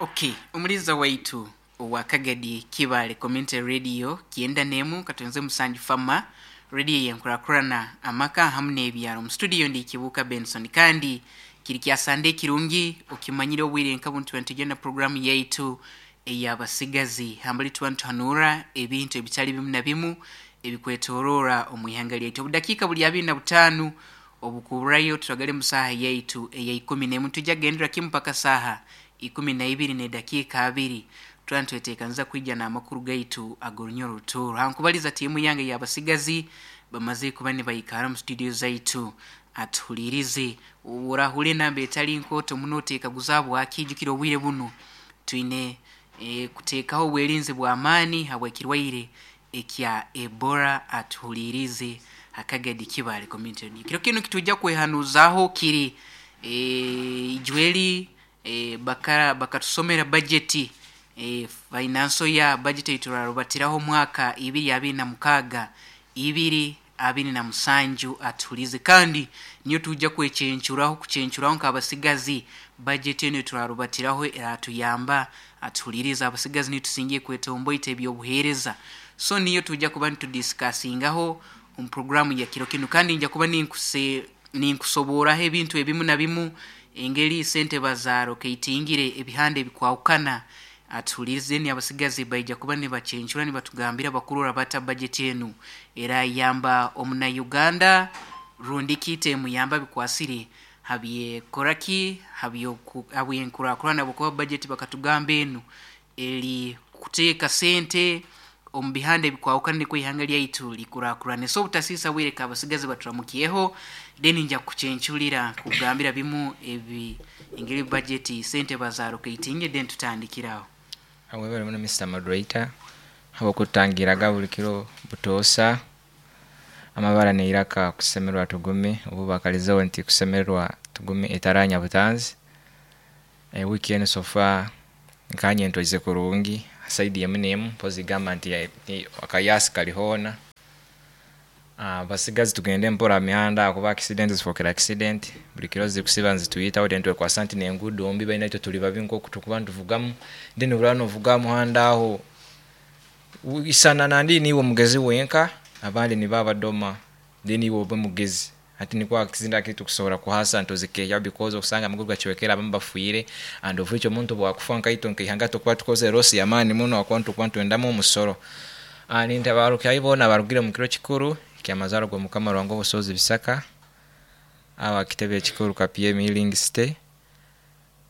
Okay, omuliza waitu owa Kagadi Kibale Community Radio 91 katonze 7 fama radio yenkurakurana amaka hamu n'ebyaro. Mu studio ndi Kibuka Benson, kandi kiri kya Sande kirungi okimanyire obwire nka buntu ntugenda programu yaitu ey'abasigazi hambali tuba nituhanura ebintu ebitali bimu na bimu ebikwetorora omu ihanga lyaitu. Obudakiika buli 25 obukuburayo turagale mu saaha yaitu eya 11, tujja kugendera kimu mpaka saaha 12 n'edakiika 2, tuba nitweteekaniza kwija n'amakuru gaitu ag'orunyoro rutooro. Hankubaliza tiimu yange ey'abasigazi bamaze kuba nibaikara mu studio zaitu atuhuliirize. Orahura enamba etali nkooto muno oteekaguza habwaki, ijukira obwire bunu twine kuteekaho obwerinzi bw'amaani habw'ekirwaire ekya Ebola. Atuhuliirize Akagadi Kibale Community Radio. Kiro kinu kitujja kwehanuzaho kiri ijweri bakatusomera bajeti, financial ya budget eiturarubatiraho omwaka 2026 2027. Atuhulize kandi niyo tujja kwechencuraho kuchencuraho nk'abasigazi. Budget enu turarubatiraho eratuyamba. Atuhuliriza abasigazi nitusingiye kwetomboita ebyobuheereza, so niyo tujja kuba nitudiscussingaho omu programu ya kiro kinu, kandi nja kuba ninkusoboraho ebintu ebimu na bimu, engeri sente bazarokeitingire ebihanda ebikwahukana. Atuhulirize ni abasigazi baija kuba nibacencura nibatugambira bakurora bata budget enu erayamba omuna Uganda rundi kiite emuyamba bikwasire habyekoraki habyenkurakurana, bwokuba budget bakatugamba enu eri kuteeka sente omu bihanda ebikwahukana nikwo ihanga lyaitu likurakurane. So obutasiisa bwire, abasigazi baturamukiyeho, then nja kucencurira kugambira bimu ebi engeri budget sente bazarokeitinge, then tutandikiraho. Webale muno, Mr Moderator, habwokutangiraga buli kiro butoosa amabara neiraka kusemererwa tugume obu bakalizeho nti kusemererwa tugume etaranya butanzi. Wiki enu so far nkanye ntwaize kurungi side emu nemu mpozi gamba nti akayasi kali hoona. Basigazi tugende mpora mihanda kuba accident zifokera accident buli kiro zikusiba nzituyitaho, then twekwasa nti nenguudo mbi baina itwe tuli babi nkoku tukuba nituvugamu, then buraba novuga muhanda aho isana nandi niiwe omugezi wenka, abandi nibo abadoma, then iwe obe mugezi hati nikwo accident akiri tukusobola kuhasa ntozikehya because okusanga amaguru gacwekere, abamu bafiire, and of which omuntu bwakufa nkaitwe nkaihanga tukuba tukoze loss y'amaani muno akuba nitukuba nitwendamu omusoro. Nintabarukyayo boona abarugire mu kiro kikuru kyamazarwa g'Omukama Ruhanga obusobozi Bisaka aba kitebe ekikuru KPM Healing City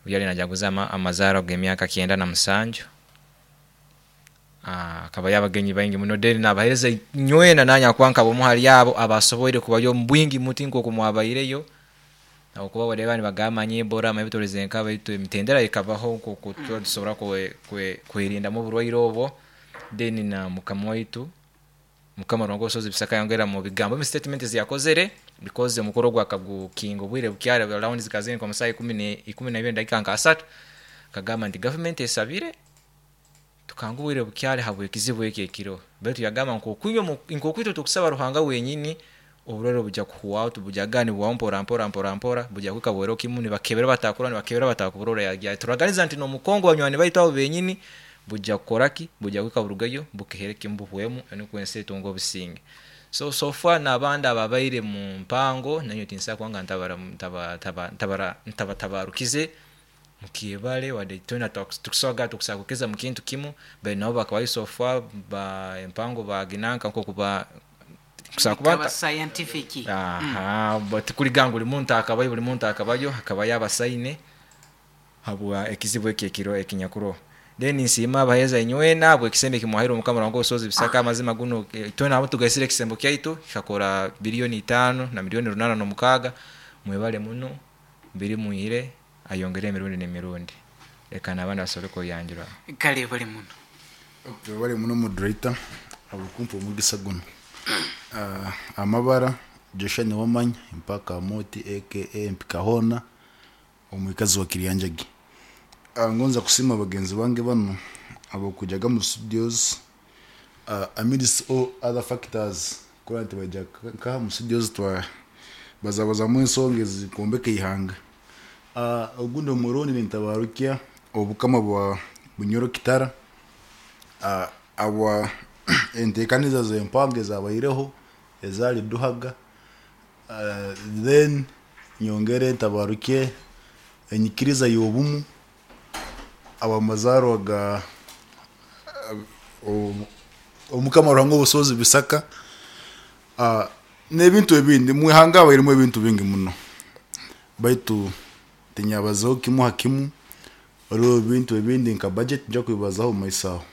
yali najaguza amazarwa g'emyaka 97. Akabayo abagenyi baingi muno, then nabahereza nywena nanye akuba nkaba omu hali abo abasoboire kubayo omu bwingi muti nkoku mwabaireyo, habwokuba bareba nibagamba nye Ebola ebitolize nka baitu emitendera ekabaho nkoku tuba tusobora kwerindamu oburwaire obwo. Then na Mukama waitu Mukama Ruhanga obusobozi Bisaka yongera mu bigambo mu statement ziyakozere because omukoro ogwo akagukinga obwire bukyari around zikazini nka omusaha 12 dakika nka 3, akagamba nti gavumenti esabire tukanga obwire bukyari habw'ekizibu eki ekiro, baitu yagamba nkokwitwe tukusaba Ruhanga wenyini oburwaire bujja kuhwaho, tubujja mpora mpora mpora mpora bujja kuhika bwero kimu nibakebera batakura nibakebera batakuburora turaganiza nti n'omukongo banywani baitu abo benyini bujja kukoraki bujja kuhika burugayo bukehere kimu buhwemu nukwo ensi etunga obusinge. So far n'abandi ababaire mu mpango nanyowe tinsobola kubanga ntabatabarukize mukyebale wadde twena tukusobola tukusobola kukiriza mu kintu kimu, bali nabo bakabayo so far ba empango baginanka nkoku kuba scientific. Aha, tikuliganga buli muntu akabayo, buli muntu akabayo, hakabayo abasaine habwa ekizibu eki ekiro ekinyakuroho. Then nsiima abaheereza inywena habw'ekisembo ekimwahaire Omukama Ruhanga obusobozi Bisaka. Amazima guno twena abo tugaisire ekisembo kyaitu kikakora 5 billion na miliyoni 806. Mwebale muno, biri mwihire ayongere emirundi n'emirundi, leka n'abandi basobole kweyanjura. Kale bali muno. Bali muno, moderator, abukumpa omugisa guno. Amabara Joshua Niwamanya mpaka Moti aka Mpikahona omwikazi wa Kiryanjagi. Ngonza kusima bagenzi bange bano abokujaga mu studios amidst all other factors kura nti bajja nkaha mu studios twa bazabazamu ensonga ezikombeka ihanga. Ogundi omurundi nintabarukya Obukama bwa Bunyoro Kitara, abwa enteekaniza z'empango ezabaireho ezaali Duhaga. Then nyongere ntabarukye enyikiriza y'obumu ab'amazaarwa ga Omukama Ruhanga Obusobozi Bisaka, n'ebintu ebindi. Mwihanga habairemu ebintu bingi muno, baitu tinyabazeho kimu ha kimu. Waliwo ebintu ebindi nka budget nja kubibazaho omu maiso aho.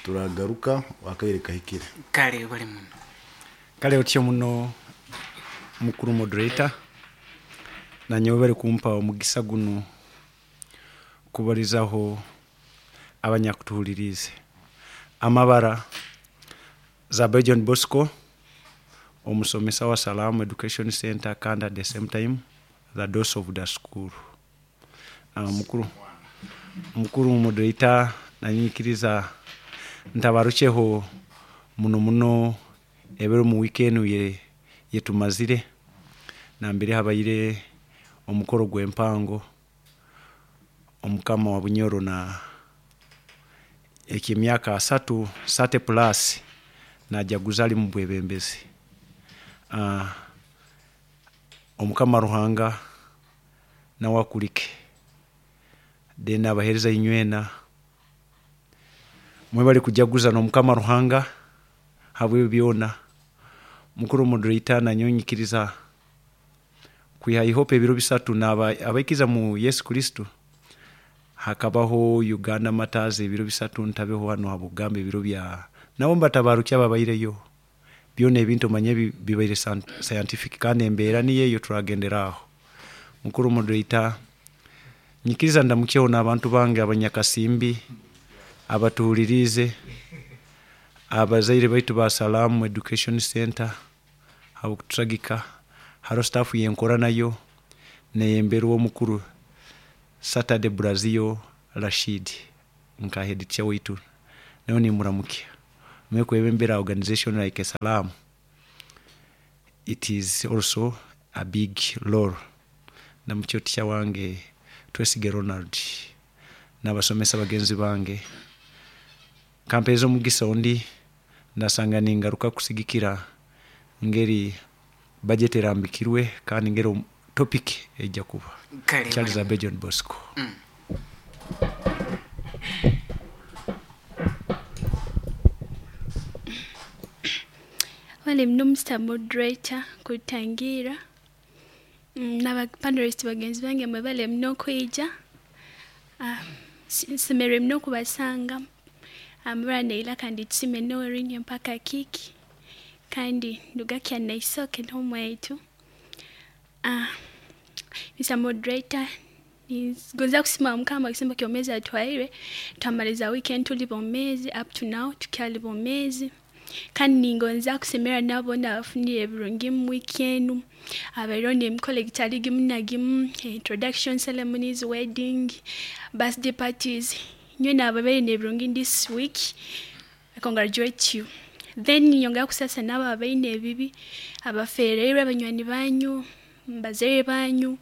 Turagaruka akaire kahikire. Kale bali muno. Kale otyo muno mukuru moderator, nanyowe bari kumpa omugisa gunu kubarizaho abanyakutuhuliriize. Amabara Zabe John Bosco, omusomesa wa Salamu Education Center kandi at the same time the DOS of the school. Mukuru moderator, nanyikiriza ntabarukyeho muno muno ebiro mu wiiki enu yetumazire, nambere habaire omukoro gw'empango omukama wa Bunyoro na eky'emyaka 30 plus najaguza ali mu bwebembezi. Omukama Ruhanga nawe akulike, then abahereza inywena mwebale kujaguza n'omukama Ruhanga habw'ebyo byona. Mukuru moderator, nanyowe nyikiriza kwiha ihope ebiro 3 n'abaikiza mu Yesu Kristo, hakabaho Uganda Matters ebiro 3 ntabeho hano habw'okugamba ebiro bya nabo mbatabarukya ababaireyo. Byona ebintu omanye bibaire scientific kandi embeera niyo eyo turagendera aho. Mukuru moderator, nyikiriza ndamukyeho n'abantu bange abanyakasimbi abatuhuliriize, abazaire baitu ba Salamu Education Center habw'okutusagika, hariho staff yenkora nayo neyemberwa omukuru Saturday Brazil Rashid nka head teacher waitu, nawe nimuramukya. Mwe kwebembera organization like Salamu, it is also a big role. Ndamukye teacher wange Twesige Ronald n'abasomesa bagenzi bange. Kampereza omugisa ondi ndasanga ningaruka kusigikira ngeri budget erambikirwe kandi ngeri topic ejja kuba. Kale, Charles bali. Abe John Bosco. Wale muno Mr. Moderator kutangira n'aba panelist bagenzi bange mwebale muno kwija. Nsemerere muno kubasanga amabara neila kandi tusime norinye mpaka kiki kandi ndugakya naisoke n'omwaitu. Mr. Moderator, gonza kusima mukama kisembo kyomezi atwaire twamaliza weekend tuli bomezi up to now tukyali bomezi, kandi ningonza kusemera nabo nabafunire ebirungi mu week enu abairo n'emikolo egitali gimu na gimu, introduction ceremonies, wedding, birthday parties. Nywe nababaire n'ebirungi this week, I congratulate you. Then nyongera kusasa nabo abaine ebibi, abafereirwe abanywani banyu, bazaire banyu,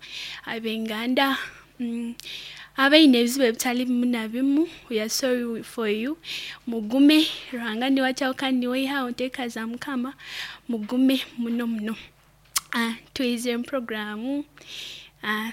abenganda, abaine ebizibu ebitali bimu na bimu, we are sorry for you. Mugume, Ruhanga niwe akyaho kandi niwe aihaho nteeka za Mukama, mugume muno muno. Twizire mu programu,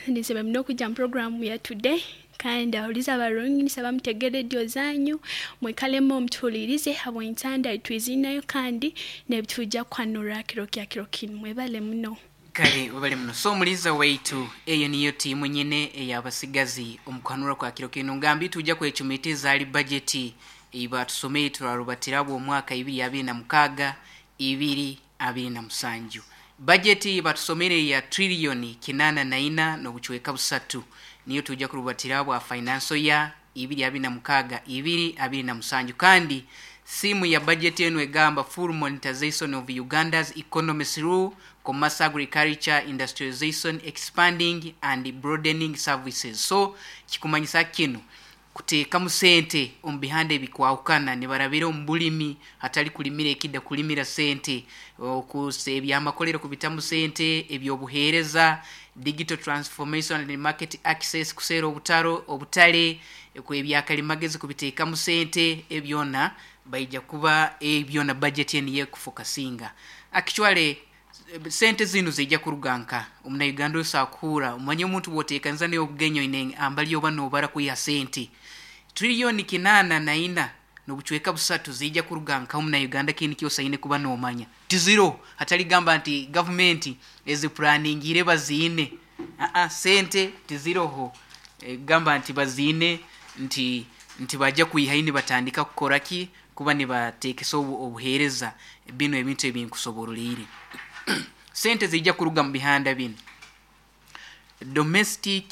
nisaba muno kujja mu programu ya today, kandi ahuliza abarungi nisaba mutege radio zanyu, mwikalemo mutuhulirize habw'entanda twizinayo kandi nebitujja kwanura kiro kya kiro kinu. Mwebale muno. Kale webale muno. So omuliza waitu eyo niyo tiimu nyine ey'abasigazi omukuhanura kwa kiro kinu. Ngambi tujja kwecumitiza ali budget eibatusomei turarubatirabwo omwaka ibiri abiri na mukaga ibiri abiri na musanju. Budget batusomere ya trillioni kinana na ina n'obucweka busatu niyo tujja kurubatirabwo financial ya ibiri abiri na mukaga ibiri abiri na musanju. Kandi simu ya budget enu egamba full monetization of Uganda's economy through commerce, agriculture, industrialization, expanding and broadening services. So kikumanyisa kino Kuteekamu sente omu bihanda ebikwahukana, nibarabira omu bulimi, hatali kulimira ekida, kulimira sente, ebyamakolero kubitamu sente, ebyobuheereza, digital transformation and market access, kuseera obutaro obutale, ebyakalimagezi kubiteekamu sente, ebyona baija kuba ebyona budget enu yekufokasinga. Actually sente zinu zijja kuruga nka omunauganda osakuhura omanye omuntu bwoteekaniza naye obugenyi oine ambali oba nobara kwiha sente 884 nobucweka 3 trillion zijja kuruga nka omunauganda. Kini kyose aine kuba nomanya tiziro, hatali gamba nti gavumenti eziplaningire baziine. Sente tiziroho. Gamba nti baziine nti bajja kwihayo nibatandika kukora ki, kuba nibateekesa obuheereza bino ebintu ebinkusoboroliire. Sente zijja kuruga mu bihanda bino: domestic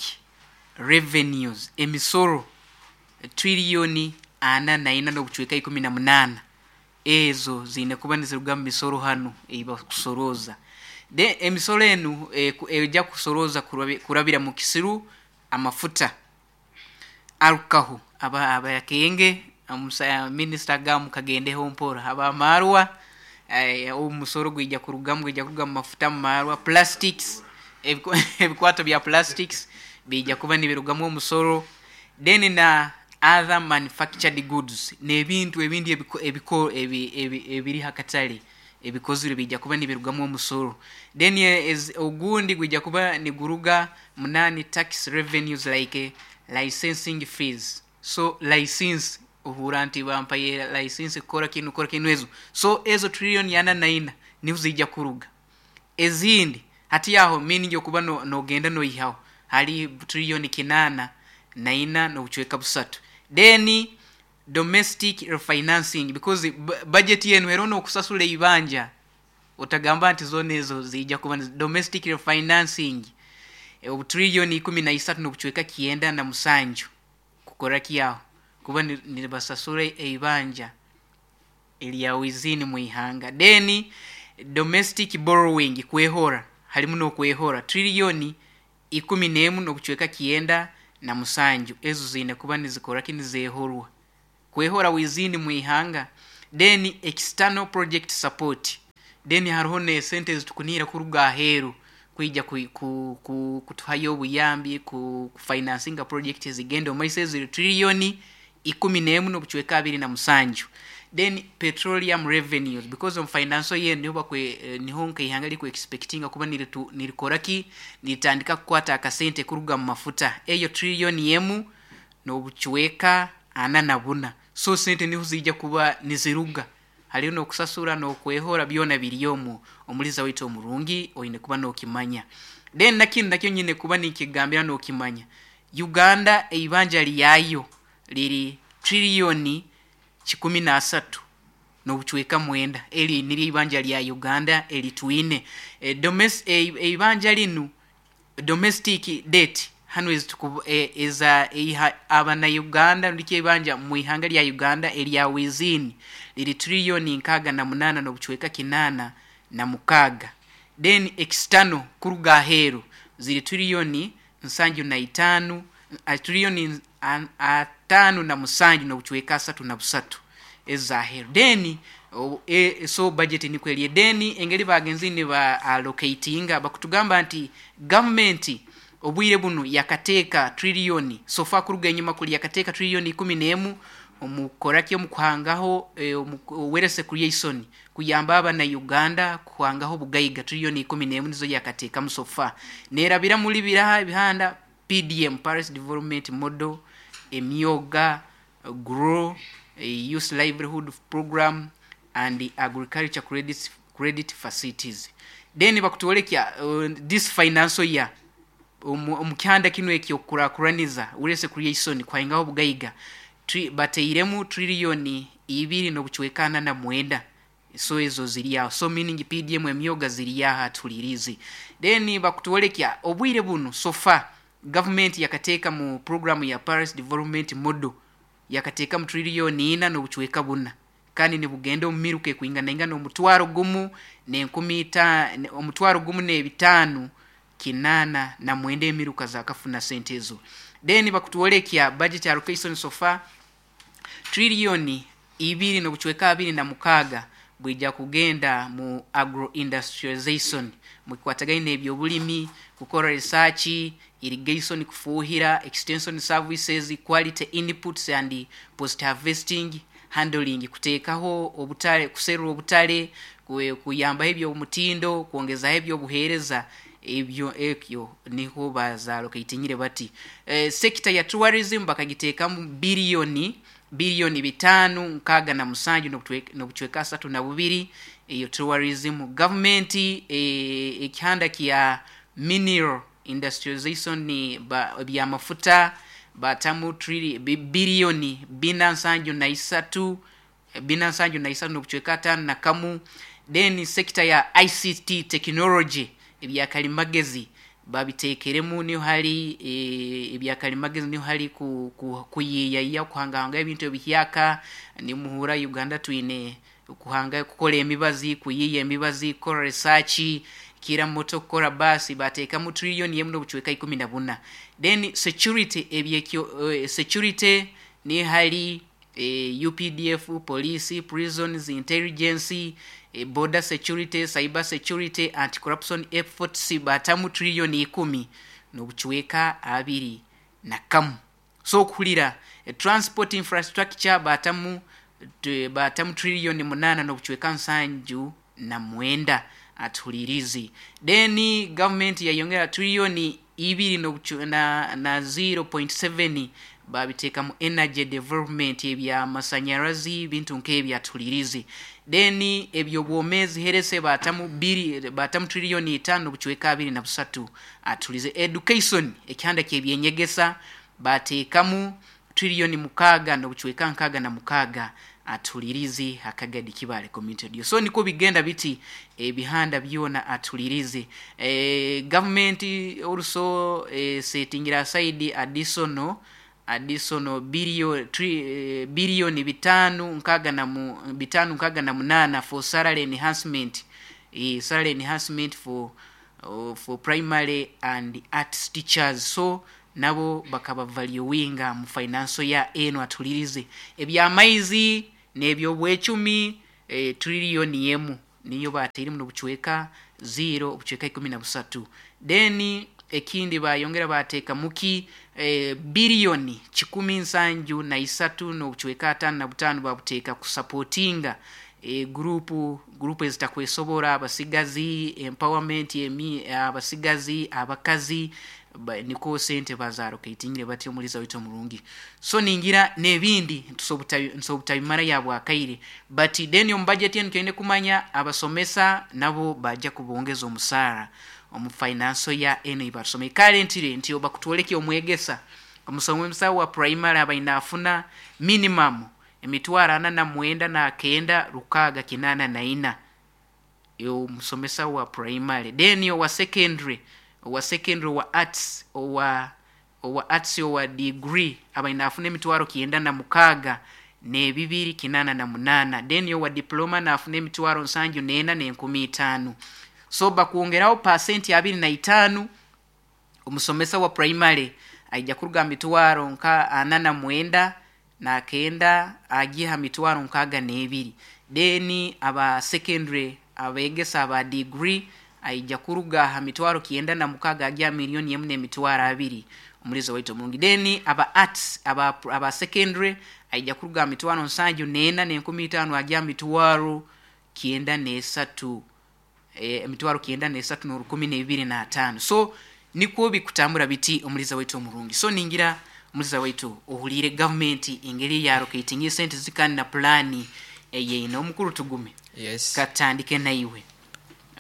revenues, emisoro, 44 nobucweka 18 trillion, ezo ziine kuba niziruga mu misoro hanu eibakusorooza. De emisoro enu ejja kusorooza kurabira mu kisiru, amafuta, arukaho abakenge minisita agamu kagendeho mpora, abamarwa, omusoro gwija kurugamu, gwija kuruga mu mafuta, mu marwa, plastics, ebikwato bya plastics bijja kuba nibirugamu omusoro, then na other manufactured goods, n'ebintu ebindi ebiri hakatale ebikozire bijja kuba nibirugamu omusoro. Then ogundi gwijja kuba niguruga munani tax revenues like licensing fees. So license, ohura nti bampaye license kukora kinu, kukora kinu, ezo. So ezo 44 trillion niho zijja kuruga. Ezindi hati aho meaning okuba nogenda noihaho hali 804 nobucweka 3 trillion. Then domestic refinancing, because budget yenu era nokusasula ibanja, otagamba nti zona ezo zijja kuba domestic refinancing, obutrilioni 13 nobucweka 97 kukora kyaho kuba nibasasura eibanja erya wizini mwihanga. Then domestic borrowing, kwehora, halimu nokwehora, 11 nobucweka 97 trillion, ezo ziine kuba nizikora ki, nizehorwa, kwehora wizini mwihanga. Then external project support, then hariho nesente ezitukunira kuruga aheeru kwija kutuhayo obuyambi kufinansinga project ezigenda omu maiso, eziri 11 nobucweka 27 trillion. Then petroleum revenues, because omu financial year niho bakwe, niho nkaihanga liku expectinga kuba nirikora ki, niritandika kukwata akasente kuruga mu mafuta, eyo 1.44 trillion. So sente niho zijja kuba niziruga, hariyo nokusasura nokwehora, byona biri omwo. Omuliza waitu omurungi oine kuba nokimanya. Then nakindi nakyo nyine kuba nikigambira nokimanya, Uganda eibanja lyayo liri 113.9 trillion, eli niryo ibanja lya Uganda elitwine. Eibanja linu, domestic debt hanu eza eiha abanauganda ndikyo ibanja mu ihanga lya Uganda erya wizini liri 68.86 trillion. Then external, kuruga aheeru, ziri 75 trillion, 57.33 trillion ezaheeru. Then so budget nikwo eri. Then engeri bagenzi niba allocatinga, bakutugamba nti government obwire bunu yakateeka trillion, so far kuruga enyuma kuli yakateeka 11 trillion omukoraki, omukuhangaho wealth creation, kuyamba abana Uganda kuhangaho obugaiga, 11 trillion nizo yakateekamu so far. Nerabira muri biraha ebihanda: PDM, Paris Development Model, emyoga, grow youth livelihood program and agriculture credit facilities. Then bakutwolekya this financial year, omu kyanda kinu ekyokukurakuraniza wealth creation, kuhangaho obugaiga, bateiremu 2.49 trillion. So ezo ziri aho, so meaning PDM, emyoga ziri aho atulirizi. Then bakutwolekya obwire bunu so far government yakateeka mu program ya Paris Development Model, yakateeka mu 4.4 trillion, kandi nibugenda omu miruka ekwinganaingana 1 1,000, 1 589 emiruka zakafuna sente ezo. Then bakutwolekya budget allocation so far trillioni 2.26 bwija kugenda mu agro industrialization, mukwatagaine n'ebyobulimi, kukora research, irrigation, kufuhira, extension services, quality inputs and post harvesting handling, kuteekaho obutale, kuserura obutale, kuyambaho eby'omutindo, kwongezaho ebyobuheereza, ebyo ekyo niho bazalocatinyire bati. Sector ya tourism bakagiteekamu biliyoni 567 n'obucweka 32, eyo tourism. Government ekihanda kya mineral industrialization ni byamafuta batamu biliyoni 473 473 n'obucweka 51. Then sector ya ICT technology, ebyakalimagezi babitekeremu, niho hari ebyakalimagezi, niho hari kuyiyayiya, kuhangahanga ebintu ebihyaka. Nimuhura Uganda twine kuhanga, kukora emibazi, kuyiya emibazi, kukora research kira moto, kukora basi, bateekamu trillion 1 n'obucweka 14. Then security, ebyekyo security ni hari UPDF, police, prisons, intelligence, border security, cyber security, anti corruption efforts, batamu trillion 10 n'obucweka 21. So okuhulira transport infrastructure batamu trillion 8 n'obucweka 79 atuhulirizi. Then government yayongera trillion 2 na 0.7 babiteeka mu energy development, ebyamasanyarazi, bintu nk'ebyo atuhulirizi. Then ebyobwomezi herese batamu trillion 5 n'obucweka 23 atulize. Education, ekihanda ky'ebyenyegesa bateekamu trillion 6 n'obucweka 66 atulirizi akagadi Kibale Community Radio. So niko bigenda biti ebihanda byona atulirize. Government also setting aside additional billion 568 for salary enhancement, salary enhancement for primary and arts teachers. So nabo bakaba valuinga mu financial ya eno atulirize. Ebyamaizi n'ebyobwecumi trillion 1 niyo bateirimu n'obucweka 0 obucweka 13. Then ekindi bayongera bateeka muki billioni 173 n'obucweka 55 babuteeka kusupportinga grupu ezitakwesobora, abasigazi, empowerment abasigazi, abakazi, niko sente bazalocatinyire bati omuliza waitu omurungi. So ningira n'ebindi nsobutaimara ya bwakaire, but then omu budget enu twine kumanya abasomesa nabo bajja kubongeza omusaara omu financial ya eno ibasome. Currently nti bakutwoleke omwegesa omusomesa wa primary abaina afuna minimum emitwaro 49 9 6 84 yo musomesa wa primary. Then owa secondary wa arts, owa arts owa degree abaina afuna emitwaro 96 ne 288. Then owa diploma na afuna emitwaro 74 500. So bakuongeraho percent 25 omusomesa wa primary aija kuruga mitwaro nka 49 na 9 agiha mitwaro 62. Then aba secondary abegesa aba degree aija kuruga ha mitwaro 96 agiha milioni 1 n'emitwaro 2 omulizo waitu omurungi. Then aba arts aba secondary aija kuruga mitwaro 74 500 agiha mitwaro 93 emitwaro 93 n'o 12.5. So nikwo bikutambura biti omuliza waitu omurungi. So ningira omuliza waitu ohulire government engeri ya allocating sente zikani na plani eyeina. Omukuru tugume. Yes. Katandike naiwe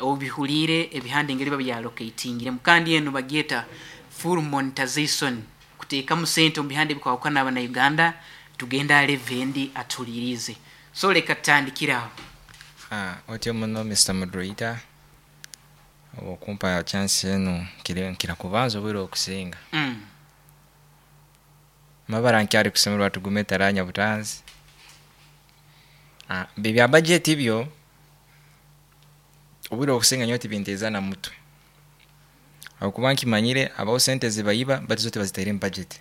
obihulire ebihanda engeri babya allocatingire mukandi eno bagyeta full monetization, kuteekamu sente omu bihanda ebikwawukana abana Uganda tugenda levendi atulirize. So leka tutandikiraho. Otyo muno Mr. Moderator okumpa chance eno nkira kubanza obwire okusinga. Mabara nkyari kusemerwa tugume taranya butanzi. Bibya budget ibyo obwire okusinga nyo tibinteza na mutwe. Akuba nkimanyire abaho sente zibayiba bati zote bazitaire mu budget.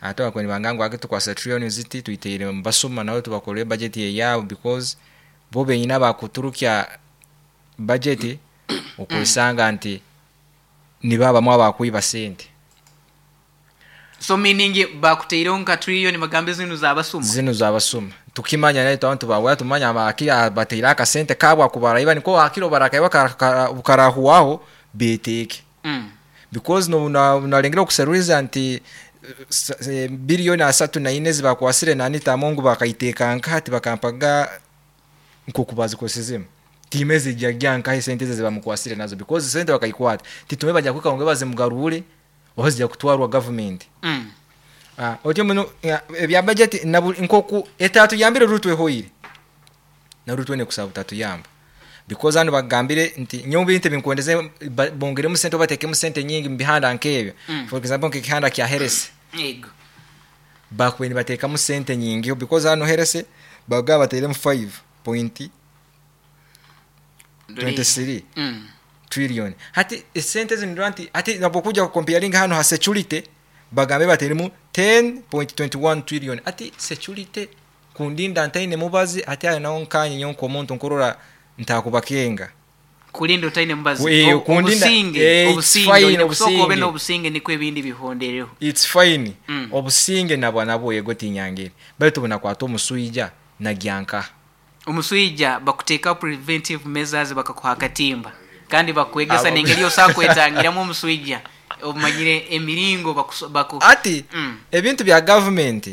Ate bakwe nibanga ngu ake tukwasa trillion ziti tuiteire mubasuma nawe tubakolere budget eyabo, because bo benyina bakuturukya budget okwesanga nti nibabamu abakwiba sente. So meaning bakuteireho nka trillion, bagambe zinu zabasuma. Zinu zabasuma tukimanya naye abantu bawe tumanya abaki bateire akasente kabwa akubaraiba niko hakiro barakaiba karahuwaho beteke. Because no nalengera okuseruriza nti bilioni 34 zibakwasire nani tamongu bakaiteka nkati bakampaga nkokubazikozesezemu timeze jagya nkahe sente zibamukwasire nazo, because sente bakaikwata titume bajya kwika ngo bazimugarure oba kutwarwa government. Otyo muno ebya budget nkoku etatu yambire rutwe hoire na rutwe ne kusaba tatu yamba, because ano bagambire nti nyombe inte binkwendeze bongeremu sente batekemu sente nyingi mbihanda nkebyo. For example nk'ekihanda kya Herese yego bakweni batekamu sente nyingi, because hano Herese bagaba bateremu 5.23 trillion. Hati sente zino nti hati napokuja comparing hano ha security bagambe bateremu 10.21 trillion. Ati security kundinda ntaine mubazi ati ayo nawo nkanye nyonko omuntu nkurora ntakubakenga kulinda utaine mubazi obusinge obusinge obusinge obusinge niko ebindi bihondereho. It's fine. Obusinge nabwo nabwo yego tinyangire baitu bunakwata omusuija nagyanka omusuija bakuteka preventive measures bakakuha akatimba kandi bakwegesa nengeri osakwetangiramu omusuija omanyire emiringo baku ati ebintu bya government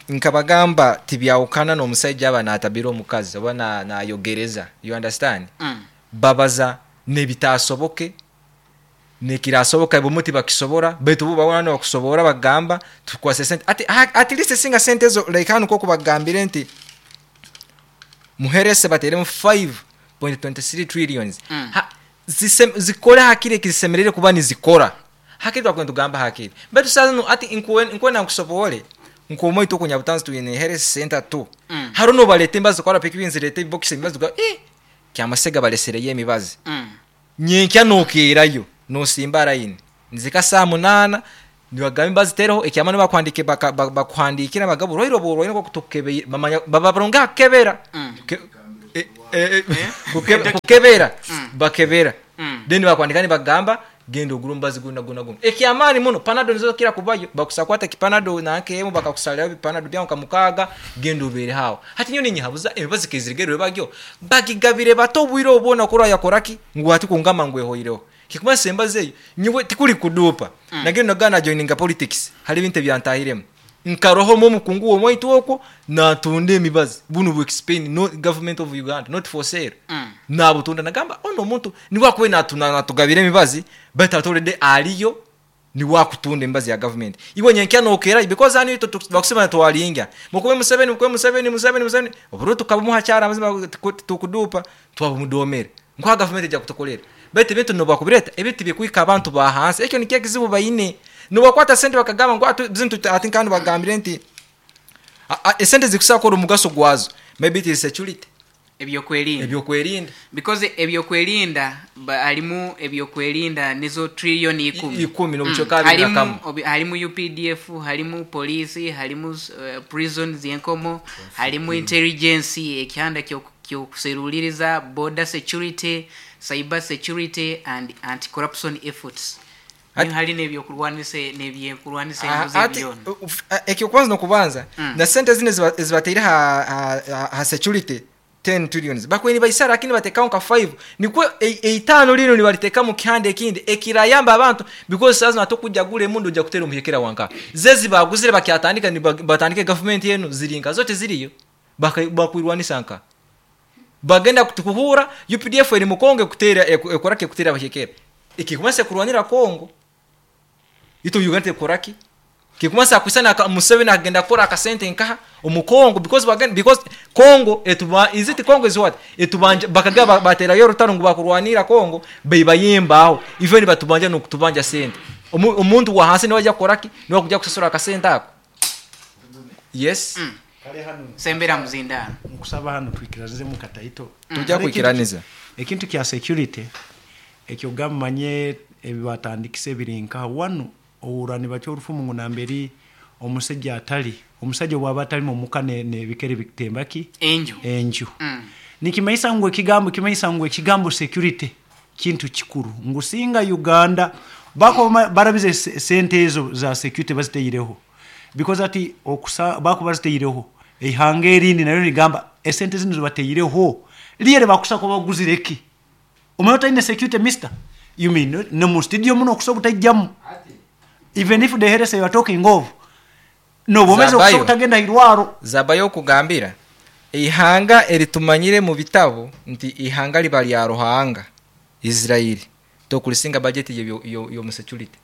nkabagamba tibyawukana n'omusajja aba natabira omukazi oba nayogereza, you understand? Babaza nebitasoboke nekirasoboka bumuti bakisobora baitu bo babona bakusobora bagamba tukwase sente ati at least singa sente zo like hano koko bagambire nti muherese bateremu 5.23 trillions. Zikora hakire kisemerere kuba nizikora hakire twakwenda tugamba hakire baitu sasa no ati nkuwe nkusobole nkomo itoko nyabutanzi tuyine herese center tu. Haruno balete imbazo kwa piki binzirete box imbazo kyamasega balesereye emibazi. Nyenkya nokerayo nosimba line nzika saa 8 nibagambe bazitereho ekyamano bakwandike bakuhandikira bagabo roiro borwa nko kutukebe bamanya babaronga kebera kukebera bakebera then bakwandika bagamba genda ogura mbazi guna guna guna ekyamani muno panado nizo kira kubayo bakusakwata kipanado na nkemu bakakusalira bipanado byangu kamukaga genda ubere hawo hati nyoni nyihabuza emibazi kezirigerwe bagyo bagigabire bato bwiro obona kora yakoraki ngu ati kungama ngwe hoireho kikuma sembaze nywe tikuli kudupa. Nagenda nagana joininga politics hari bintu byantahiremo nkaroho mu mukungu wo mwitu okwo natunde emibazi bunu bu explain no government of Uganda not for sale. Nabutunda nagamba ono muntu niwakwe natuna natugabire emibazi but atolede aliyo niwakutunda emibazi ya government iwe nyenkya nokera because ani bakusema twalinga mukube Museveni mukube Museveni Museveni Museveni oburo tukabamuha cyara amazima tukudupa twabumudomere nkwa government ejya kutukolera bete bintu no bakubireta ebiti bikwika abantu ba hansi ekyo nikye kizibu bayine nubakwata sente bakagamba ngo atu ati kandi bagambire nti esente zikusakora omugaso gwazo maybe it is security ebyokwerinda because ebyokwerinda alimu ebyokwerinda nizo trillion 10 n'obuchoka bina halimu UPDF, halimu police, halimu prisons yenkomo, halimu intelligence ekyanda kyokuseruliriza, border security, cyber security and anti-corruption efforts. Hali nebyokurwanisa nebyekurwanisa enzo. Ekyo kwanza nokubanza na sente zine zibateire ha security 10 trillions bakweni baisara lakini batekaho nka 5 nikwo eitano lino nibariteka mu kihande ekindi ekirayamba abantu because sasa natokujja gule mundu ujja kutera omuhekera wanka zezi baguzire bakyatandika ni batandike government yenu zirinka zote ziriyo bakwirwanisa nka bagenda kutukuhura UPDF eri mukonge kutera ekorake kutera abahekera ikikumasa kurwanira Kongo ito Uganda ekoraki kikumasa kusana Museveni agenda kora akasente nkaha omukongo because bagenda because Kongo etuba is it Kongo is what etubanja bakaga batera yo rutaro ngo bakurwanira Kongo bebayimbaho even batubanja no kutubanja sente omuntu wa hansi niwajya koraki niwa kujya kusasura akasente ako. Yes. Kale hano sembera muzinda nkusaba hano twikiranize mu kataito tujya kwikiraniza ekintu kya security ekyo gamanye ebibatandikise birinka wano owurani bacyo orufumu ngo namberi Omusajja atali omusajja bwaba atali mumuka nebikere bitembaki Enju. Enju. Nikimanyisa ngu ekigambo, kimanyisa ngu ekigambo security kintu kikuru, ngu singa Uganda bako barabize sente ezo za security baziteireho, because ati okusa bako baziteireho eihanga erindi naryo rigamba esente zino zibateireho liyere bakusa ko baguzireki omanye otaine security, mister, you mean no mu studio muno okusa obutajjamu, even if the heresy you are talking of no bomeze okusa Zabayo. obutagenda irwaro. Zabayo okugambira ihanga eritumanyire mu bitabo nti ihanga liba lya Ruhanga Israeli tokulisinga budget yo security.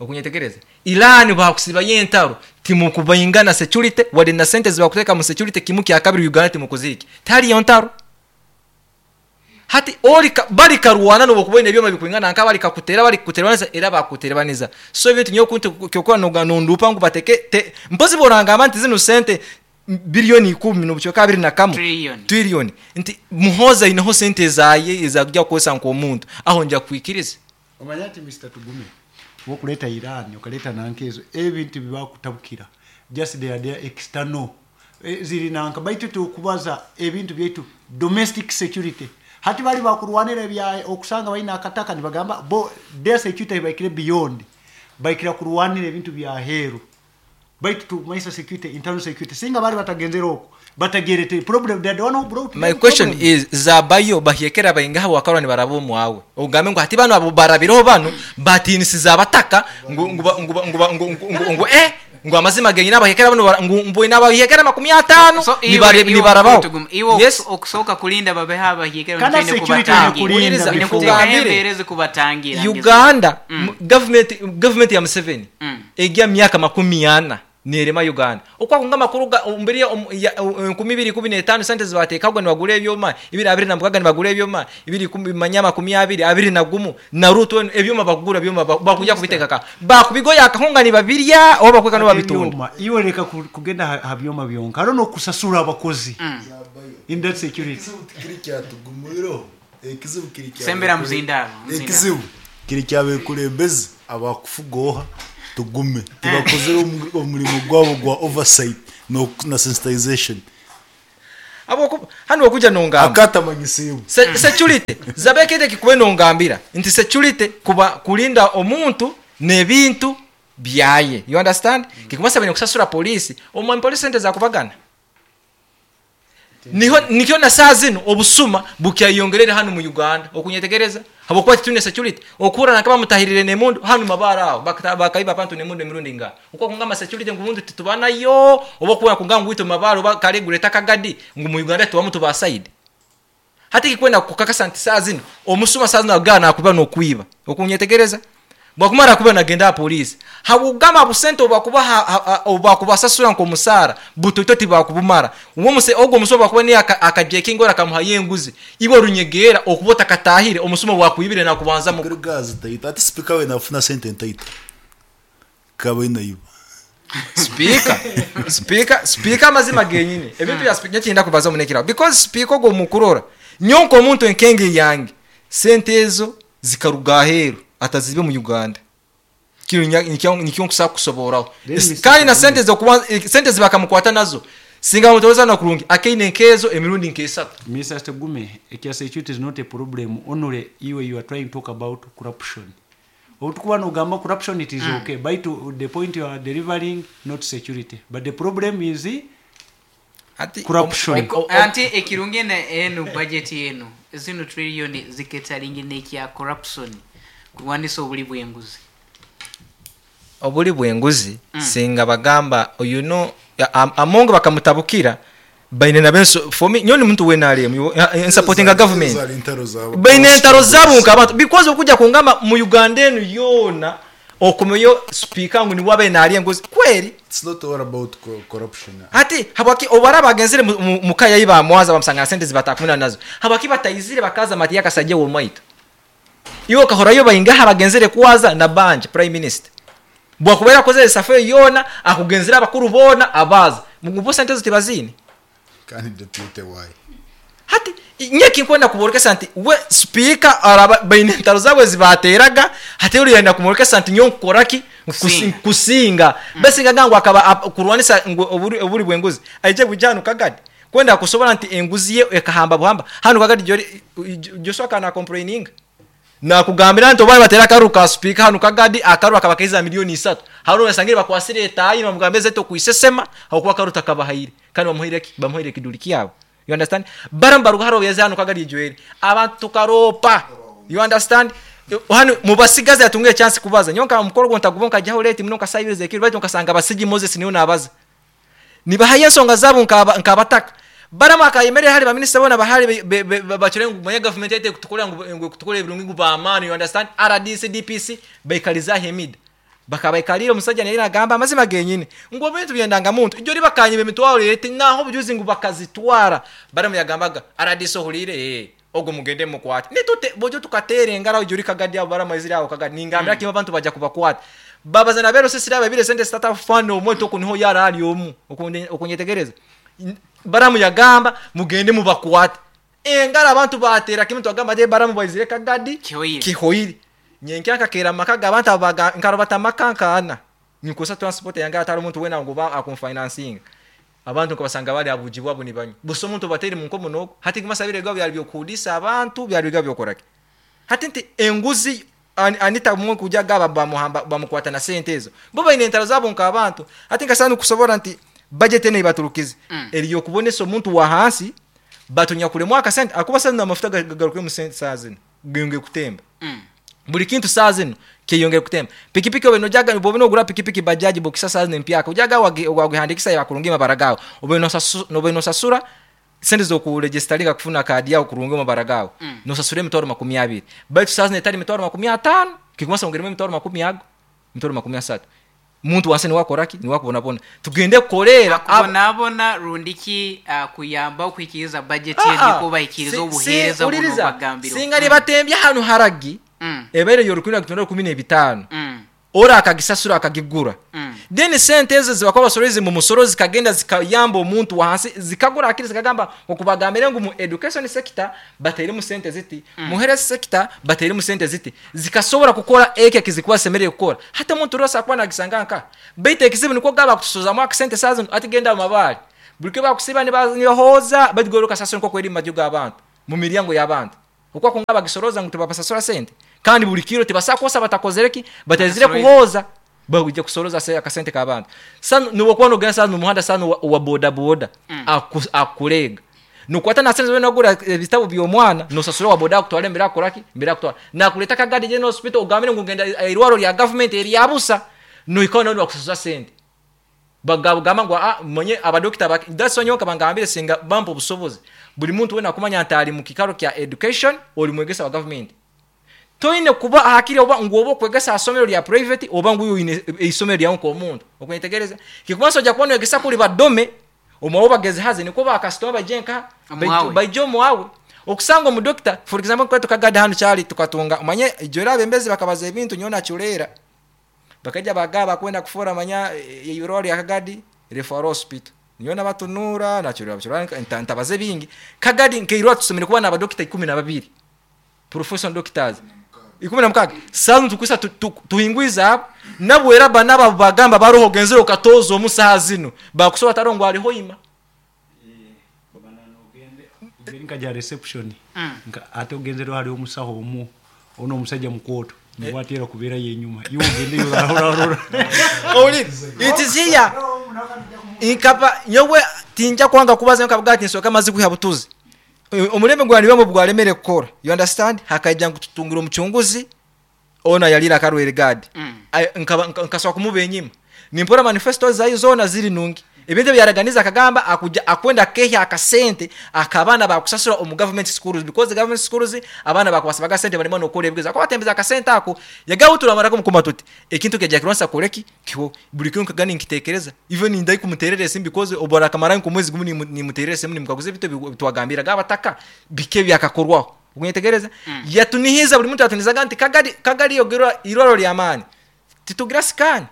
Okunyetegereza Iran bakusiba yentaro timukubaingana security wade na sente zibakuteeka mu security kimu kya kabiri Uganda timukuziki tali yontaro. Hati oli bali karwana no kubona ebyoma bikuingana nka bali kakutera bali kuteraniza era bakuteraniza. So ebintu nyo kuntu kyokora no ndupa ngu bateke mpozi boranga abantu zino sente bilioni 10 n'obuchoka 21 Trillion. Trillion nti Muhoza inaho sente zaye ezakujja kukosa nko omuntu aho nja kwikiriza. Omanya ati Mr Tugume wokuleta Iran okaleta nankezo ebintu bibakutabukira just they are there external. Ziri nanka baitu tukubaza ebintu byaitu domestic security hati bali bakurwanira ebya okusanga balina akataka nibagamba bo their security baikire beyond baikira kurwanira ebintu bya heru baitu tumaisa security, internal security, singa bali batagenzera okwo batagerete problem, they are the one who brought My them question problem. is zabayo bahyekera baingaha wakarwa ni barabo mwawe ogambe ngo hati bano abo barabireho bano batinisiza abataka ngo ngo ngo ngo ngo ngo ngo ngo amazima genyina abahyekera bano ngo mboina abahyekera 50 So, ni barabaho. Iwe Yes. okusoka kulinda babeho abahyekera Kana nitwine security kubatangira. kulinda Ine before. kuteekayo Nkugambire. embeera ezikubatangira. Uganda government ya Museveni egya myaka 40 nerema Uganda okwakunga amakuru mbere ya 2015 sente zibateekagwa nibagura ebyoma 2026 nibagura ebyoma 2020 na Ruto ebyoma bakugura byoma bakujya kubitekaka bakubigoya akahunga nibabirya oba bakweka no babitunda. Ebyoma, iwe leka kugenda ha byoma byonka hariho n'okusasura abakozi in that security. Ekizibu kiri kyatugumiro, ekizibu kiri kya Sembera muzindaro, muzindaro. Ekizibu kiri kyabekulembezi abakufugoha tugume tibakozere omurimo gwabo gwa oversight na sensitization. Abo hano okuja nongamba akatamanyisiibwe. Security zabekete kikuwe nongambira nti security kuba kulinda omuntu n'ebintu byaye, you understand? Kikumasa bene kusasura polisi omwami polisi sente zakubagana niho nikyo na saa zino obusuma bukyayongerera hano mu Uganda okunyetegereza habwokuba titune security okura nakaba mutahirire nemundu hano mabara aho bakaiba abantu nemundu emirundi nga uko kungama security ngumundu titubanayo oba kuwa kunganga ngwito mabara oba kale guleta kagadi ngu mu Uganda tubamu tuba side hati kikwenda kukakasa nti saa zino omusuma saa zino agana akuba n'okwiba okunyetegereza bwakumara kuba nagenda polisi habugama busente obakuba obakubasasura nko musara butoto tibakubumara uwo muse ogwo musoma bakuba ni akajekingo akamuha yenguzi ibo runyegera okubota katahire omusuma wakwibire na kubanza mu Kuri gazi taita ati speaker we nafuna sente ntaita kaba inayiba. Speaker amazima genyine ebintu bya speaker nyakinda kubaza munekira because speaker go mukurora nyonko omuntu enkenge yange sente ezo zikaruga aheru atazibe mu Uganda kiro nikyo nkusa kusoboraho. Then Mr. Kandi na sente zo kuba sente zibakamukwata nazo singa mutoza na kurungi akeine nkezo emirundi nkesatu. Mr. Tugume, ekya security is not a problem. Only you are trying to talk about corruption. Otukuba nogamba corruption, it is okay. But to the point you are delivering, not security. But the problem is Ati corruption. Anti ekirungi eno budget eno zino trillion ziketalingi n'ekya corruption kulwanisa obuli bw'enguzi. Obuli bw'enguzi singa bagamba you know amongo bakamutabukira baine na benso for me nyoni muntu wenalemu supporting a government Zali entaro zaabo. baine entaro zabo nkabantu because okujja kungamba mu Uganda eno yona okomeyo speaker ngu niwe abe enguzi kweri. It's not all about corruption. Ati habwaki obara bagenzere mukaya yiba mwaza bamusanga sente zibatakumuna nazo habwaki batayizire bakaza mati yakasajja wo mwaito iwo kahorayo bayingaha bagenzere kuwaza na banja prime minister bwakubera koze safe yona akugenzera abakuru bona abaza mugubo sente zo tibazini. Kandi deputy why hati nyeki nkwenda kuborokesa nti we speaker araba baine entaro zabwe zibateraga hati uri yenda kumorokesa nti nyo nkoraki Kusinga besingaga ngu akaba kurwanisa ngu obuli bw'enguzi aije bujja hanu Kagadi kwenda kusobora nti enguzi ye ekahamba buhamba hanu Kagadi Joshua kana complaining nakugambira nti oba batera akaru ka speaker hanu Kagadi akaru akabakaiza 3 million haro basangire bakwasire etayi bamugambye zeto kuisesema hakuba akaru takabahaire kandi bamuhaire ki? Bamuhaire kiduli kyabo. You understand? Baram baruga haro yeze hanu Kagadi Joel abantu tukaropa. You understand? Hano mubasigazi atunge chance kubaza nyonka mukoro gwo ntagubo nkajyaho late muno nkasayiriza ekiro baitu nkasanga basigi Moses niyo nabaza nibahaye ensonga zabo nkabataka baramu akayemerera hari baminisita bona bahari bacure ngu manya government yete kutukora ngu kutukora ebirungi ngu bamaani. You understand? RDC, DPC baikaliza hemida bakabaikalira omusajja naye nagamba amazima genyine ngu ebintu byendanga muntu ijjo libakanye emitwaro yete naho obujuzi ngu bakazitwara. Baramu yagambaga RDC ohulire ogwo mugende mukwate nitute bojo tukatere engaro ijjo likagadi abo baramu eziri awo Kagadi ningambira kimwe abantu bajja kubakwata babazana bero sisi babire sente startup fund omweto kuniho yara ali omu okunyetegereza. Baramu yagamba mugende mubakwate engaro abantu batera kimwe twagamba de baramu baizire Kagadi. Kihoire. Kihoire nyenkya nkakera amaka g'abantu abaga nkarobata amaka nkaana nikosa transport yange atari omuntu wena ngu akumfinansinga abantu nkabasanga bali abuji bwabo nibanywa busa omuntu bateri munkomo nogo hati kumasabire gabo byali byokudisa abantu byali bigabo byokoraki hati nti enguzi anita mwe kuja gaba bamuhamba bamukwata na sente ezo bo baine entaro zabo nk'abantu hati nkasana kusobora nti budget ene ibaturukize eriyo kubonesa omuntu wa hansi batunyakulemu akasente akuba sana amafuta gagaruke mu sente saa zino genge kutemba. Buli kintu saa zino kyeyongera kutemba. Pikipiki obe nojaga bobe nogura pikipiki bajaji bokisa saa zino empyaka ojaga wagihandikisa yakurungi mabara gawe obe obe nosasura sente zokuregisteringa kufuna kadi yawe kurungi mabara gawe nosasura 200,000 baitu saa zino etali 500,000 kikumasa ongeremu emitwaro makumi ago 30,000 muntu wansi niwakoraki niwakubonabona tugende kukolera Akubonabona rundiki kuyamba okwikiriza budget Ah, ah. niko bayikiriza obuheereza buno uliriza. bagambiro. Singa libatembye hanu haragi ebaire yorukumi na 15 ora akagisasura akagigura then sente ezo zibakuba basoreze mu musoro zikagenda zikayamba omuntu wansi zikagura akiri zikagamba okubagambire ngu mu education sector bateremu sente ziti mu health sector bateremu sente ziti zikasobora kukora eke kizikuba semereye kukora hata omuntu rose akuba nagisanga nka baitu ekizibu niko gaba kutusozamu akasente saa zino ati genda mu mabaali buli bakusiba nibahoza batigoroka kasasiro nko kweri mu maju g'abantu mu miryango y'abantu okwa kunga bagisoroza ngu tibabasasura sente kandi buli kiro tibasakosa batakozereki batazire Batasoroize. kuhoza bagujja kusoroza se akasente k'abantu sa nubokuba nogenda sa mu muhanda sa wa boda boda akulega nukwata na sente nagura ebitabo by'omwana nosasura wa boda akutwala mbere akoraki mbere akutwala nakuleta Kagadi General Hospital ogambire ngu ngenda irwaro lya government eryabusa noikao noni bakusasura sente bagamba ngu ah, mwenye abadokita that's why nyoka bangambire singa bampa obusobozi buli muntu wena akumanya nti ali mu kikaro kya education oli mwegesa wa government toine kuba hakiri oba ngu oba okwegesa asomero lya private oba ngu oyine isomero lyawe nk'omuntu okwentegereza kikumansa ojja kuba nwegesa kuli badome omwawe bagezehaze niko bakasitoma baije nka Omwawe. baije omwawe okusanga omudokita for example kwe tukagada hanu kyali tukatunga omanye ijora abembezi bakabaza ebintu nyowe nakyuleera bakaija bagaba kwenda kufora manya irwaro lya Kagadi referral hospital niyo nabatunura nakyurira bakyurira ntabaze bingi Kagadi nkeirwa tusomere kuba n'abadokita 12 professional doctors 16 sasa tukwisa tuhingwiza apo nabwera banaba bagamba baroho genzero katozo omusaha zino bakusoba tarongo aliho ima. Ogende nkaja reception ate ogenzero hali omusaho omu ono omusajja mukwoto niwatera kubeera yenyuma iwe ogendeyo rarora. Owulire it is here nkapa nyowe tinja kwanga kubaza nkavuga ati nsoka amazi kwiha butuzi omulembe gwali bwalemere kukora. You understand? Hakaija ngu tutungira omucunguzi ona yalira akarwere gadi. Nkasobola kumuba enyima nimpora manifesto zayo zona ziri nungi ebintu byaraganiza akagamba akuja akwenda kehya akasente akabaana bakusasura omu government schools because the government schools abaana bakubasabaga sente barimo nokora ebigezo akabatembeza akasente ako yagawutura mukuma tuti ekintu kejja kirwanisa koleki kiho buli kintu kagani nkitekereza even ndai kumuterera esimu because obora akamara nkumwezi gumu nimuterera esimu nimukaguza ebintu bitwagambira gabataka bike byakakorwaho okunyetegereza yatunihiza buli muntu yatunizaga nti Kagadi Kagadi yogerwa irwaro lyamaani titugira scan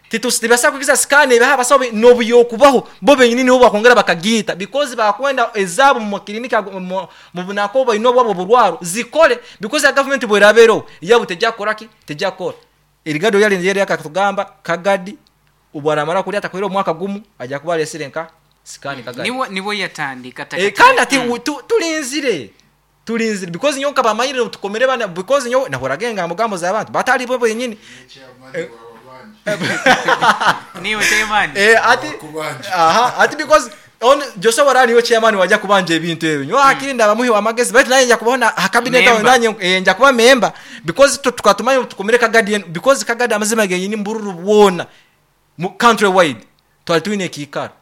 tibasa kugiza scan ebaha abasawo nobuyokubaho bo benyini nibo bakongera bakagiita because bakwenda ezaabo mu makilinika mu bunako baine obwabo burwaro zikole because ya government bwerabeereho yabo tejja kukoraki tejja kukora. Erigado yali yali akatugamba Kagadi ubwaramara kulya atakwira omwaka gumu ajja kuba alesire nka sikani Kagadi. Nibo yatandika Kandi ati tulinzire because nyoka bamanyire tukomere bana because nyo nahoraga engambo gambo z'abantu batali bo benyini. Niwe chairman. Ati aha ati because on Joshua warani yo chairman wajja kubanja ebintu ebyo nyo akirinda abamuhi wa magezi baitu naye nja kubona cabinet awo nanye nja kuba member because tukatumayo tukomere Kagadi because Kagadi amazima genyini mbururu bwona mu country wide twali twine kikaro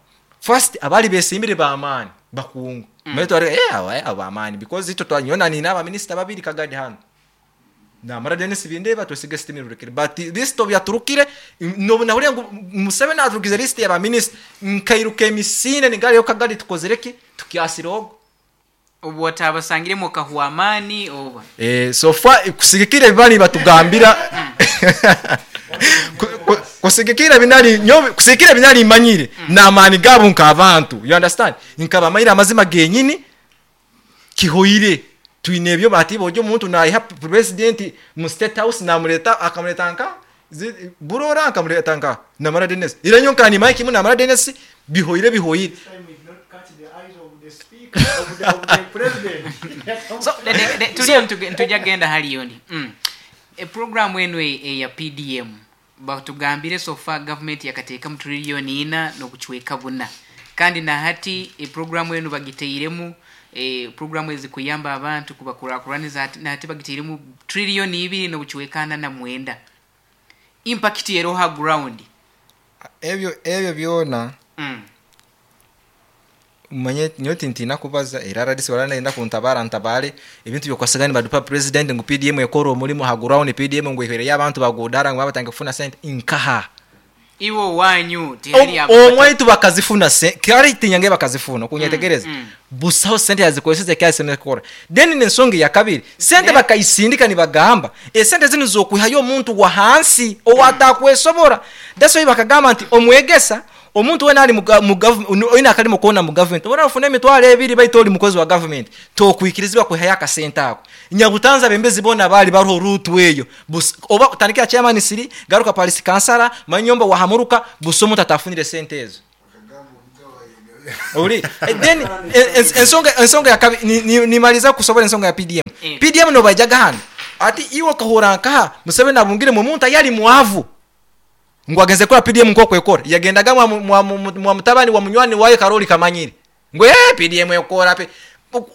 first abali besimbire ba amani bakungu mweto ari aba amani because ito twanyona ni naba minister babiri Kagadi hano na mara Dennis bindeba twesige system rurekere but this to byaturukire no nahuriye ngo Museveni aturukize list ya ba minister nkairuka emisine nigari yo Kagadi tukozereki tukiasirogo obwo atabasangire mu kahuamani oba so far kusigikira bibali batugambira kusigikira binali nyo kusigikira binali manyire na amani gabo nka abantu you understand nkaba mayira amazima genyini kihoire twine ebyo bati bojo omuntu nayiha president mu state house namuleta akamuleta nka burora akamuleta nka namara Dennis ira nyo nkani mike mu namara Dennis bihoire so tuliyo tujja genda haliyoni programu eno eya PDM batugambire so far government yakateeka mu trillion 4.4 kandi na hati programu eno bagiteiremu programu ezikuyamba abantu kubakurakuraniza na hati bagiteiremu trillion 2.49 impact eroha ground ebyo byona manye nyoti ntina kubaza era radisi wala naenda kuntabara ntabale ebintu byokwasagani badupa president ngu PDM ekora omulimu ha ground PDM ngu ihwere y'abantu bagudara ngu babatanga kufuna sente inkaha iwo wanyu tihali omwaitu bakazifuna kali tinyange bakazifuna kunyetegereza busaho sente yazikozesa kyase nekora then nensonga ya kabiri sente bakayisindika nibagamba esente zino zokwihayo omuntu wa hansi owatakwesobora that's why bakagamba nti omwegesa omuntu wena ali mu government oyina akali kona mu government obona ofuna emitwalo 2 baito oli mukozi wa government tokwikirizibwa kwihaya akasente ako nyabutanza bembezi bona bali baruho rutu eyo oba tandikira chairman siri garuka police kansala manyomba wahamuruka busomo tatafunire sente ezo ori then ensonga ya nimaliza kusobora ensonga ya PDM PDM no bajaga hano ati iwo kahora nkaha Museveni abungire mu muntu yali muavu ngo agenze kora PDM nko kwekora yagendaga mwa mutabani wa munywani waye Karoli Kamanyire ngo PDM ekora pe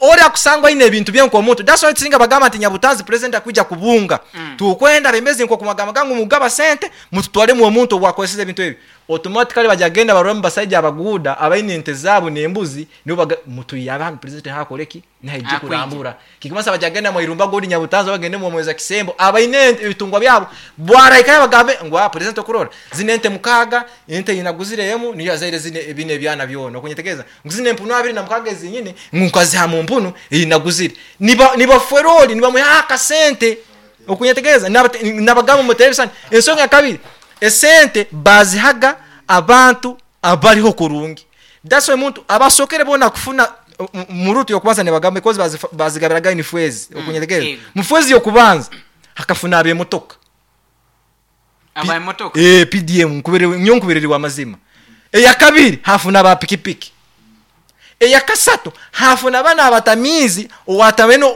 ori akusangwa ine ebintu byenko omuntu that's why tsinga bagamba nti Nyabutanzi president akuja kubunga tukwenda bembezi nko kumagamba gangu mugaba sente mututwale mu omuntu wakozesa ebintu ebi automatically bajagenda baromba basaija abaguda abaine ente zabo nembuzi nibo mutuyaba president hakoleki naije kurambura kikimasa bajagenda mu irumba godi Nyabutanzi bagende mu mweza kisembo abaine ebitungwa byabo bwaraika bagambe ngo president okurora zine ente mukaga ente inaguzireyemu niyo azaire zine ebine ebyana byona okunyetegeza nguzine empunu 26 ezinyine ngukaziha mu mpunu inaguzire niba feroli niba muha sente okunyetegeza nabagamba muterebisani ensonga ya kabiri esente bazihaga abantu abariho kurungi that's why muntu abasokere bona kufuna murutu yokubanza ne bagamba because bazigabiraga ni fwezi okunyetegeza mufwezi yokubanza hakafuna abe motoka abaye motoka PDM nkuberere wa mazima eya kabiri hafuna ba pikipiki eya kasatu hafuna bana abatamizi owatameno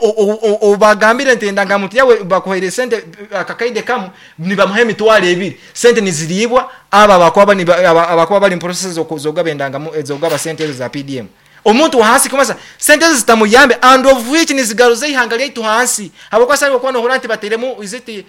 obagambire nti ndanga yawe bakuhaire sente akakaide kamu nibamuhe emitwalo 2 sente niziribwa aba abakuba bali process zogaba endanga zogaba sente ezo za PDM omuntu hansi kumasa sente zitamuyambe and of which nizigaruze ihanga lyaitu hansi abakwasa bwo no horanti bateremu iziti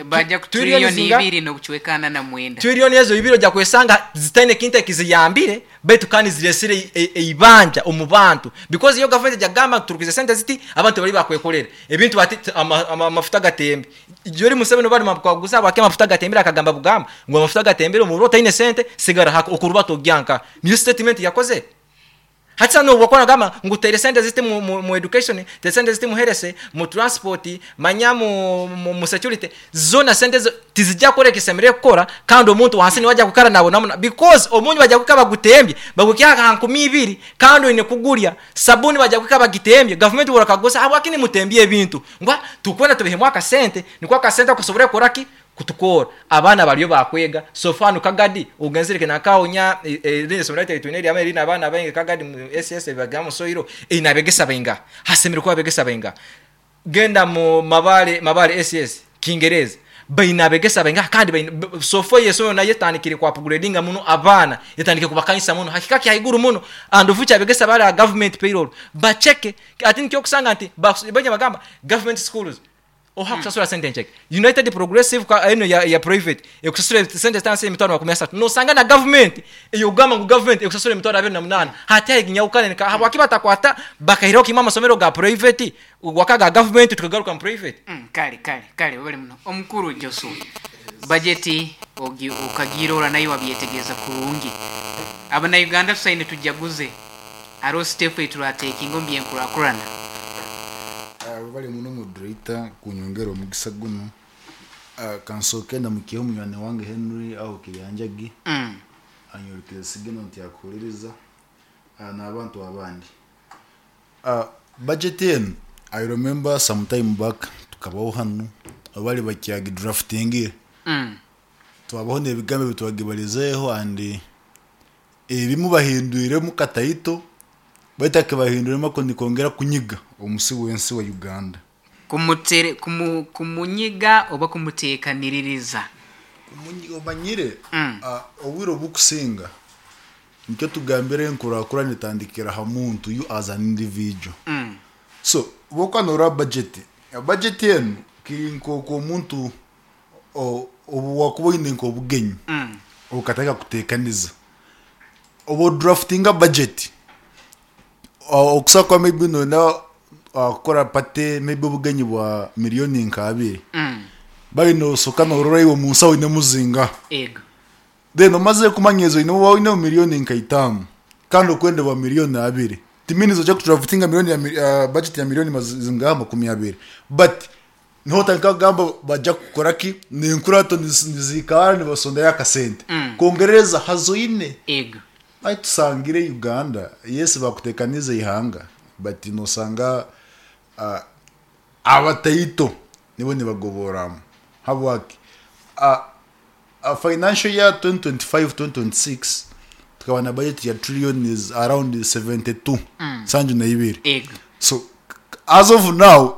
baja ku trillion 2.49 trillion ezo ibiro ja kwesanga zitaine kinta kiziyambire betu kandi ziresire eibanja omubantu because iyo government jagamba turukize sente ziti abantu bali bakwekolera ebintu bati amafuta gatembe jori Museveni bali mabwaguza bake amafuta gatembera akagamba bugamba ngo amafuta gatembera omurota ine sente sigara okuruba togyanka new statement yakoze hatsa no wakona gama ngutere sente ziti mu education te sente ziti mu herese mu transport manya mu security zona sente tizijja kore kisemere kukora kandi omuntu wansi ni wajja kukara nabo namuna because omunyu wajja kukaba gutembye bagukya 2000 kandi ine kugulya sabuni wajja kukaba gitembye government worakagosa abakini mutembye ebintu ngwa tukwenda tubihemu akasente nikwa akasente kusobora koraki Kutukora abaana bariyo bakwega. So far nu Kagadi ogenzere kenakaonya erindi somero lyaitu twine lyama erina abaana baingi, Kagadi mu SS bagamba soiro ina abegesa bainga, hasemere kuba abegesa bainga. Genda mu Mabale, Mabale SS Kingereza baina abegesa bainga, kandi baina so far yeso naye yetandikire kwa upgradinga muno abaana, yetandikire kubakanyisa muno hakika kyaiguru muno. And future abegesa bali a government payroll bacheke, ati nikyo kusanga nti bajya bagamba government schools oha kusasula sente ncheke. United Progressive kwa eno ya private ekusasula sente tanse 30,000, nosanga na government eyogamba ngu government ekusasula 28,000. Hati ayiginyaukane nika habwaki batakwata bakahiraho kimwe amasomero ga private wakaga government tukagaruka mu private. Kale kale kale, webale muno omukuru Joshua. Bajeti okagirora nayo wabyetegereza kurungi. Abannayuganda tusaine tujaguze, hariho step eturatekinga omu byenkurakurana. Bali muno moderator kunyongera omugisa guno. Kansooke ndamukiyeho munywani wange Henry aho Kiryanjagi, anyorokere sigino nti akuhuliriza, n'abantu abandi. Budget eno, I remember some time back tukabaho hano abali bakyagi draftingire, twabaho n'ebigambo bitwagibalizeeho, and ebimu bahindwiremu kataito, baitu akibahindwiremu ako nikongera kunyiga omusi w'ensi wa Uganda. Kumutere, kumunyiga oba kumuteekaniririza? Kumunyiga, omanyire. Obwire obukusinga nikyo tugambire enkurakurana etandikira ha muntu, you as an individual. So bwokuba budget enu kiri nk'oku omuntu obu wakuba oine nk'obugenyi, okatandika kuteekaniza obu draftinga budget, okusobola kuba maybe noyenda kukora party, maybe obugenyi bwa miliyoni nka 2, bali nosoka norora iwe omunsaho oine muzinga. Then omaze kumanya ezo oine, oine miliyoni nka 5 kandi okwenda bwa miliyoni 2, timini ojja kudraftinga miliyoni ya budget ya miliyoni zingaha 20, but niho otandika kugamba bajja kukora ki nenkurato nizikara nibasondayo akasente kongereza hazoine. Ai tusangire Uganda, yes, bakutekaniza ihanga, but nosanga abataito nibo nibagoboramu. Habwaki? Financial year 2025 2026 tukaba na budget ya trillion is around 72 sanju na ibiri. So as of now